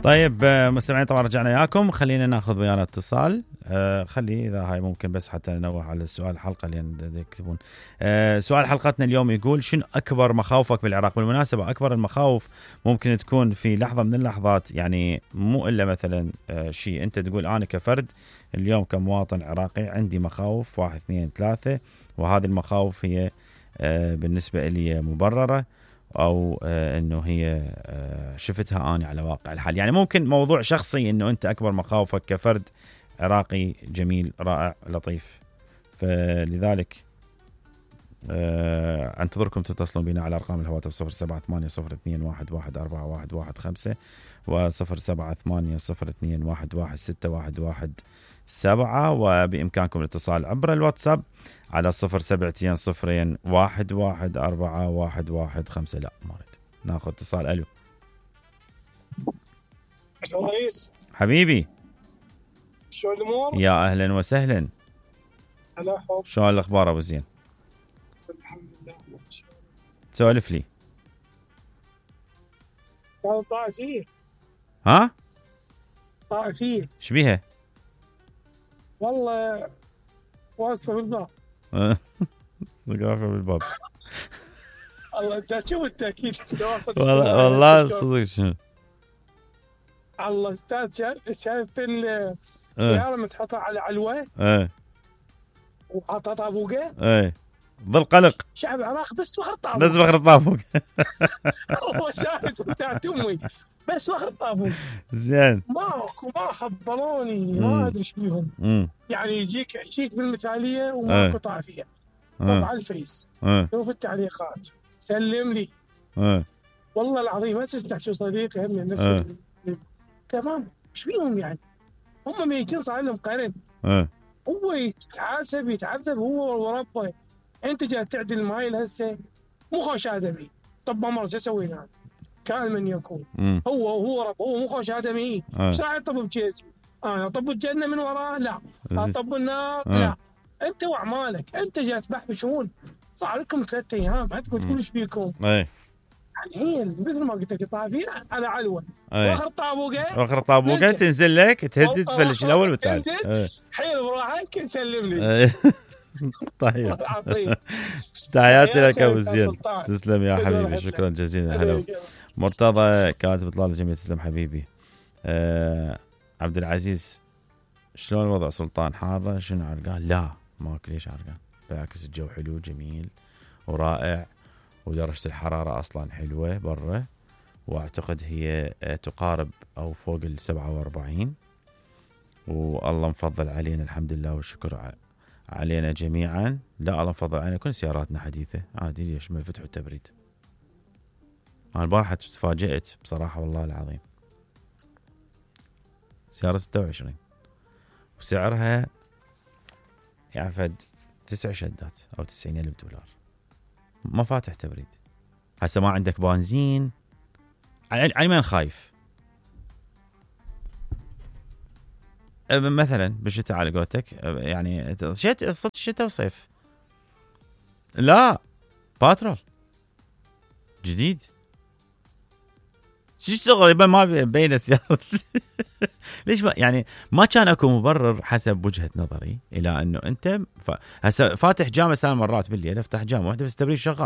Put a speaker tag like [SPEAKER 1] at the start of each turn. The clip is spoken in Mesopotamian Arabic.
[SPEAKER 1] طيب مستمعين طبعا رجعنا وياكم. خلينا ناخذ ويانا اتصال. خلي اذا هاي ممكن بس حتى ننوه على السؤال الحلقه اللي يكتبون. سؤال حلقتنا اليوم يقول شنو اكبر مخاوفك بالعراق؟ بالمناسبه اكبر المخاوف ممكن تكون في لحظه من اللحظات، يعني مو الا مثلا شيء انت تقول انا كفرد اليوم كمواطن عراقي عندي مخاوف 1 2 3، وهذه المخاوف هي بالنسبه لي مبرره او انه هي شفتها انا على واقع الحال. يعني ممكن موضوع شخصي انه انت اكبر مخاوفك كفرد عراقي جميل رائع لطيف. فلذلك انتظركم تتصلون بنا على ارقام الهواتف 078021141115 و0780211611، وبامكانكم الاتصال عبر الواتساب على 0720211415. لا ما اريد ناخذ اتصال. الو
[SPEAKER 2] رئيس
[SPEAKER 1] حبيبي،
[SPEAKER 2] شو الامور؟
[SPEAKER 1] يا اهلا وسهلا.
[SPEAKER 2] هلا حب،
[SPEAKER 1] شو الاخبار ابو زين؟
[SPEAKER 2] الحمد لله.
[SPEAKER 1] سولف لي.
[SPEAKER 2] كان طائفية.
[SPEAKER 1] ها
[SPEAKER 2] طائفية
[SPEAKER 1] ايش بيها؟
[SPEAKER 2] والله واقفة بالباب.
[SPEAKER 1] واقفة بالباب.
[SPEAKER 2] الله انت شو التأكيد؟
[SPEAKER 1] والله صدق شنو؟
[SPEAKER 2] الله استاذ شايف السيارة متحطة على علوة وحاطة طابوقة
[SPEAKER 1] ظل قلق
[SPEAKER 2] شعب العراق بس فخر طابوق،
[SPEAKER 1] بس فخر طابوق.
[SPEAKER 2] الله شاهد بتاعت امي بس فخر طابوق.
[SPEAKER 1] زين
[SPEAKER 2] ما خبروني ما ادري ايش بيهم. يعني يجيك بالمثاليه وماكو طائفيه. طبعا الفيس شوف التعليقات سلم لي. والله العظيم ما سمعت شو صديقي هم نفس تمام. ايش بيهم يعني؟ هم ميتين صار لهم قرن. هو يتحاسب يتعذب هو وربه. انت جاي تعدل ماي هسه مو خوش ادمي. طب ما مر شو سوينا؟ كان من يكون هو رب، هو مو خوش ادمي. ايش راح يطب بجسمي؟ انا اطب الجنه من وراه؟ لا. اطب النار؟ لا. انت واعمالك انت جاي تبحبشون. صار لكم 3 ايام ما تقول ايش بيكم. يعني هي مثل ما قلت لك طافيه على علوه واخر طابوقه
[SPEAKER 1] تنزل لك تهدد تفلش الاول والثاني.
[SPEAKER 2] حيل براحك سلم لي.
[SPEAKER 1] طيب تحياتي لك ابو زين. تسلم يا حبيبي، شكرا جزيلا. هلا مرتضى كاتب اطلال جميل. تسلم حبيبي. عبد العزيز شلون وضع سلطان؟ حاره شنو عرقان؟ لا ماكو ليش عرقان، بالعكس الجو حلو جميل ورائع، ودرجه الحراره اصلا حلوه برا، واعتقد هي تقارب او فوق 47، والله مفضل علينا الحمد لله والشكر علينا جميعا. لا الله مفضل علينا كل سياراتنا حديثة عادي. ليش ما فتحوا التبريد؟ أنا البارحة تفاجأت بصراحة والله العظيم. سيارة 26 وسعرها يعفد 9 شدات أو 90,000 دولار، ما فاتح تبريد. هسه ما عندك بنزين. على من خايف مثلا بالشتاء على قولتك؟ يعني شتاء وصيف لا باترول جديد تشتغل ما بين السيارات. ليش يعني ما كان اكو مبرر حسب وجهة نظري الى انه انت هسه فاتح جامعة 3 مرات بالليل، افتح جامعة واحدة بس تبريد شغال.